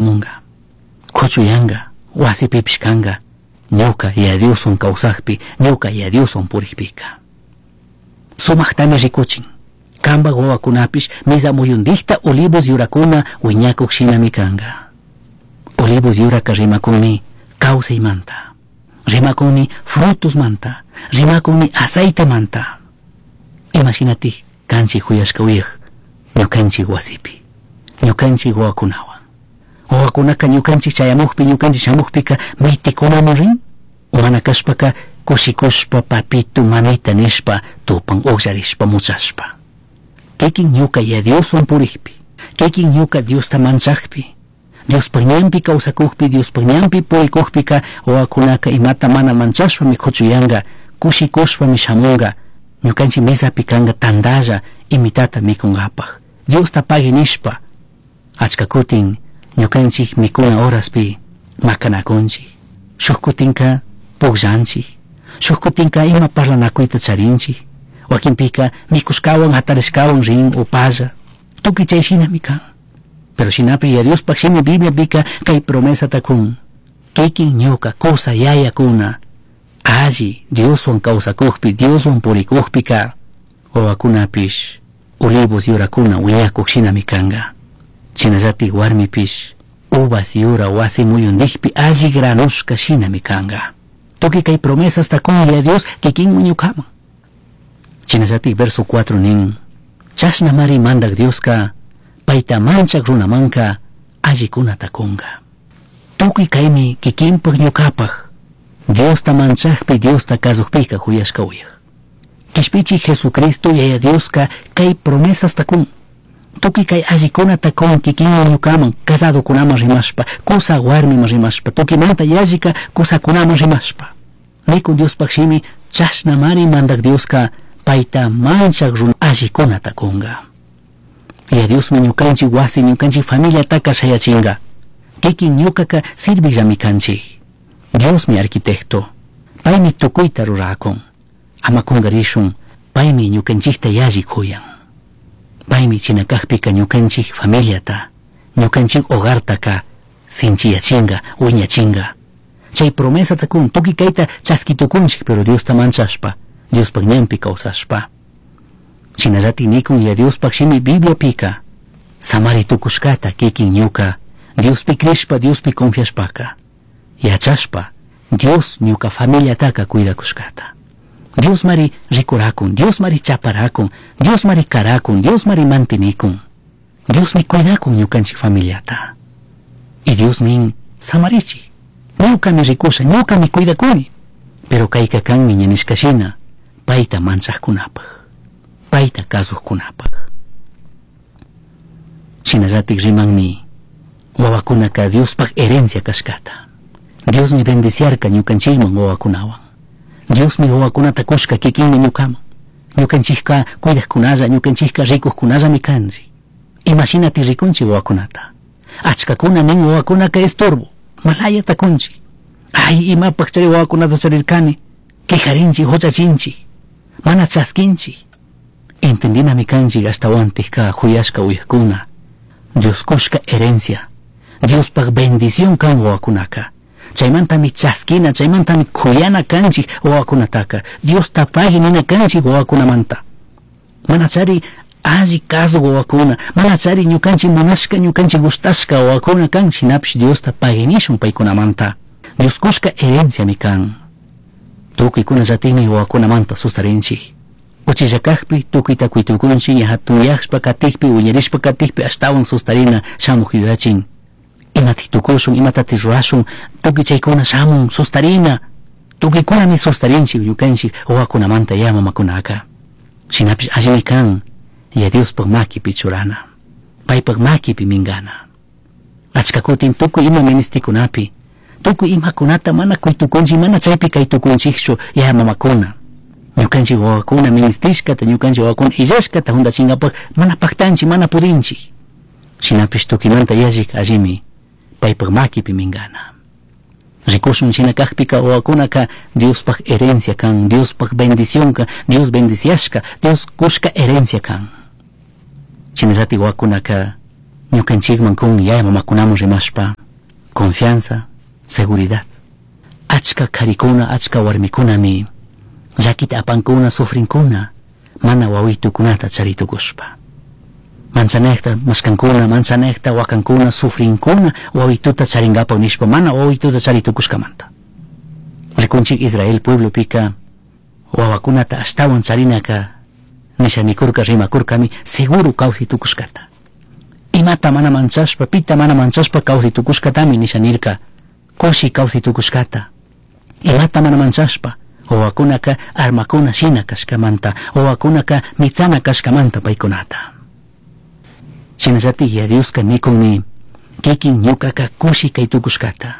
Shamunga. Kuchuyanga, wasipipish kanga, ñuka Yaya Dioswan kawsakpi, ñuka Yaya Dioswan purikpika. Sumaktami rikuchin. Kanpak wawakunapish misa muyundikta olivos yurakuna wiñakuk shinami kanga. Olivos yuraka rimakunmi kawsaymanta, rimakunmi frutosmanta, rimakunmi aceitemanta. Imashinatik kanchik huyashka uyak ñukanchik wasipi, ñukanchik wawakunawan. Wawakunaka ñukanchik chayamukpi, ñukanchik shamukpika mitikunamun rin, o mana kashpaka kushikushpa papito mamita nishpa tupan ukllarishpa muchashpa. Kikin ñuka Yaya Dioswan purikpi, kikin ñuka Diosta manchakpi, Diospak ñanpi kawsakukpi, Diospak ñanpi purikukpika wawakunaka imata mana manchashpami kuchuyanka, kushikushpami shamunka, ñukanchik misapi kanka tantalla imitata mikunkapak. Diosta pagui nishpa, achka kutin ñukanchik mikuna horaspi makanakunchik, shuk kutinka pukllanchik, shuk kutinka ima parlanakuyta charinchik, wakinpika mikushkawan hatarishkawan rin upalla, tukuy chay shinami kan. Pero shinapish Yaya Diospak shimi Bibliapika kay promesata kun, kikin ñuka kusa yayakuna alli Dioswan kawsakukpi, Dioswan purikukpika wawakunapish olivos yurakuna wiñakuk shinami kanka. Shinallatik warmipish uvas yura wasi muyundikpi alli granushka shinami kanka. Tukuy kay promesasta kun Yaya Dios kikinmi ñukaman. Shinallatik verso 4 nin, chashnamari mandak Dioska payta manchak runamanka allikunata kunka. Tukuy kaymi kikinpak ñukapak Diosta manchakpi, Diosta kasukpika huyashka uyak. Kishpichi Jesucristo Yaya Dioska kay promesasta kun. Tukuy kay allikunata kun kikinmi ñukaman, casadokunaman rimashpa, kusa warmiman rimashpa, tukuymanta yallika kusakunaman rimashpa. Nikun Diospak shimi chashnamari mandak Dioska payta manchak runa allikunata kunka. Yaya Diosmi ñukanchik wasi, ñukanchik familiataka shayachinka. Kikin ñukaka sirvikllami kanchik. Diosmi arquitecto, paymi tukuyta rurakun. Ama kunkarishun, paymi ñukanchikta yalli kuyan. Paymi chinakakpika ñukanchik familiata, ñukanchik hogartaka sinchiyachinka, wiñachinka. Chay promesata kun, tukuy kayta chaskitukunchik, pero Diosta manchashpa, Diospak ñanpi kawsashpa. Shinallatik nikun Yaya Diospak shimi Bibliapika, samari tukushkata kikin ñuka, Diospi crishpa, Diospi confiashpaka, yachashpa, Dios ñuka familiataka cuidakushkata. Dios mari rikurakun, Dios mari chaparakun, Dios mari karakun, Dios mari mantinikun. Diosmi cuidakun ñukanchik familiata. Y Dios nin samarichik, ñukami rikusha, ñukami cuidakuni. Pero kayka kanmi ña nishka shina, payta manchakkunapak, payta kasukkunapak. Shinallatik rimanmi wawakunaka Diospak herencia kashkata. Diosmi bendiciarka ñukanchikman wawakunawan. Diosmi wawakunata kushka kikinmi ñukaman. Ñukanchikka cuidakkunalla, ñukanchikka rikukkunallami kanchik. Imashinati rikunchik wawakunata. Achkakuna nin wawakunaka estorbo, malayata kunchik. Ay, imapak chay wawakunata charirkani, quejarinchik, huchachinchik, mana chaskinchik. Entendinami kanchik ashtawantikka huyashka uyakuna. Dios kushka herencia, Diospak bendición kan wawakunaka. Chaymantami chaskina, chaymantami kuyana kanchik wawakunataka. Diosta pagui nina kanchik wawakunamanta. Mana chari alli kasu wawakuna, mana chari ñukanchik munashka, ñukanchik gustashka wawakuna kan, shinapish Diosta pagui nishun paykunamanta. Dios kushka herenciami kan. Tukuykunallatikmi wawakunamanta sustarinchik. Uchilla kakpi tukuyta kuytukunchik, ña hatuyashpa katikpi, wiñarishpa katikpi ashtawan sustarina shamuk yuyachin. Imatik tukushun, imatatik rurashun, tukuy chaykuna shamun, sustarina. Tukuykunami sustarinchik ñukanchik wawakunamanta ya mamakunaka. Shinapish allimi kan, Yaya Diospak makipi churana, paypak makipi minkana. Achka kutin tukuy ima ministikunapi, tukuy imakunata mana kuytukunchik, mana chaypi kaytukunchikchu ya mamakuna. Ñukanchik wawakuna ministishkata, ñukanchik wawakuna illashkata huntachinkapak mana paktanchik, mana pudinchik. Shinapish tukuymanta yallik allimi paypak makipi minkana. Rikushun shina kakpika wawakunaka Diospak herencia kan, Diospak bendición kan, Dios bendiciashka, Dios kushka herencia kan. Shinallatik wawakunaka Ñukanchikman kun yaya mamakunaman rimashpa confianza, seguridad. Achka karikuna, achka warmikunami llakita apankuna, sufrinkuna, mana wawitukunata charitukushpa. Manchanekta mashkankuna, manchanekta wakankuna, sufrinkuna, wawituta charinkapak nishpa mana wawituta charitukushkamanta. Rikunchik Israel pueblopika wawakunata ashtawan charinaka nisha nikurka rimakurkami seguro kawsay tukushkata. Imata mana manchashpa, pita mana manchashpa kawsay tukushkatami nisha nirka, kushi kawsay tukushkata. Imata mana manchashpa, wawakunaka armakuna shina kashkamanta, wawakunaka mitsana kashkamanta paykunata. Shinallatik Yaya Dioska nikunmi kikin ñukaka kushi kay tukushkata.